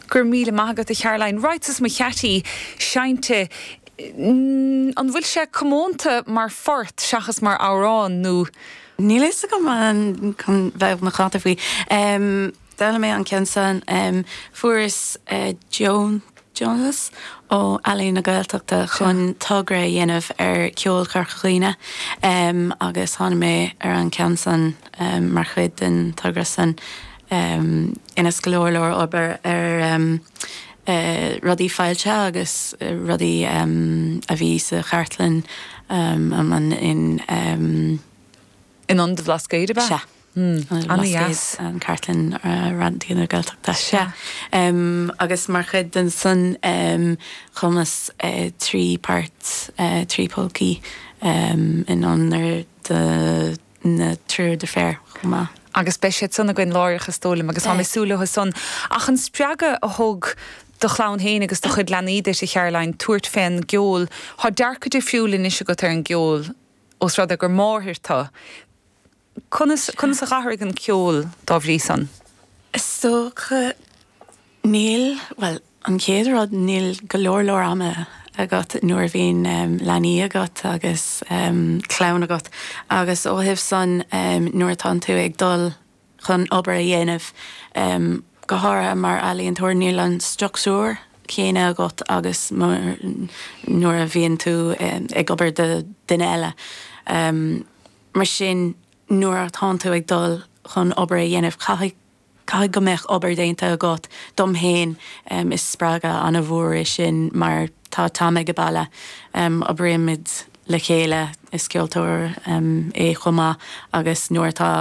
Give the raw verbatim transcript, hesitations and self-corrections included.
Gur míle maith agat a Charoline Rights mo cheataí seinnte an bhfuil sé comónta mar phort seachas mar amhrán nó Níl fhios agam an chun bheith macánta faoi. Um, D'fhoghlaim mé an ceann san um, fuaireas uh, Joan Jonas ó Ealaín na Gaeltachta chun togra a dhéanamh ar ceol Chorca Dhuibhne um, agus tháinig mé ar an ceann san um, mar chuid den togra san um, ina go leor leor obair ar um, uh, rudaí fáilte agus uh, rudaí um, a bhí sa chartlann um, an in um, in an Bhlascaoid ba? Se. An-deas. an cartlann uh, Raidió na Gaeltachta se. Um, agus mar chuid den san um, chumas uh, trí part uh, trí polcaí um, in onóir de na triúr deirféar chomh maith. Agus beidh siad san againn láithreach is dóigh liom agus tá mé súil san ach an spreagadh a thug do chlann féin agus do chuid leanaí duit a Charoline tabhairt fén gceol Tá dearcadh difriúil anois agat ar an gceol os rud é gur máthair tú. Conas conas a d'athraigh an ceol dá bhrí san? Is dócha níl well an chéad rud níl go leor leor ama agat nuair a bhíonn um, leanaí agat agus um, clann agat agus ó thaobh san um, nuair atá tú ag dul chun obair a dhéanamh um, go háirithe mar ealaíontóir níl an struchtúr céanna agat agus nuair a bhíonn tú um, ag obair do duine eile. Um, mar sin nuair atá tú ag dul chun obair a dhéanamh caithfidh caithfidh go mbeadh obair déanta agat dom féin um, is spreagadh an-mhór é sin mar tá tá ag baile um, oibrímid le chéile is ceoltóir um, é chomh maith agus nuair atá